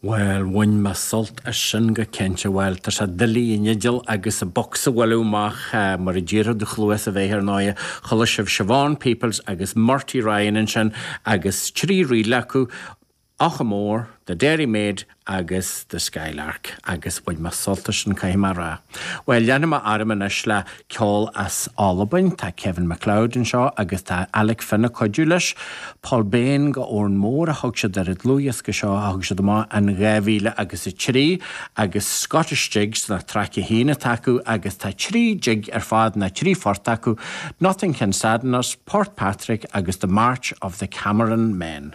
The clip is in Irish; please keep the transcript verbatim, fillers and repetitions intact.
Well bhain mé sult as sin go cinnte well tá sé doiligh an fhidil agus an bocs a bhualadh amach mar a d'iarrfadh do chluas a bheith ar ndóigh chuala sibh Siobhan Peoples agus Murty Ryan ansin agus trí ríl acu Ochamore, The Dairy Maid agus The Skylark agus bhain mé sult as sin caithfidh mé a rá. Well leanfaidh mé orm anois le ceol as Albain, tá Kevin MacLeod anseo agus tá Alec Finn ag cuidiú leis. Polbain go Òran Mór a thug siad ar an dlúthdhiosca seo a thug siad amach in dhá mhíle agus a trí agus Scottish Jigs na traic a haon atá acu agus tá trí jig ar fad na trí phort acu, Nothing Can Sadden Us, Port Patrick agus The March of the Cameron Men.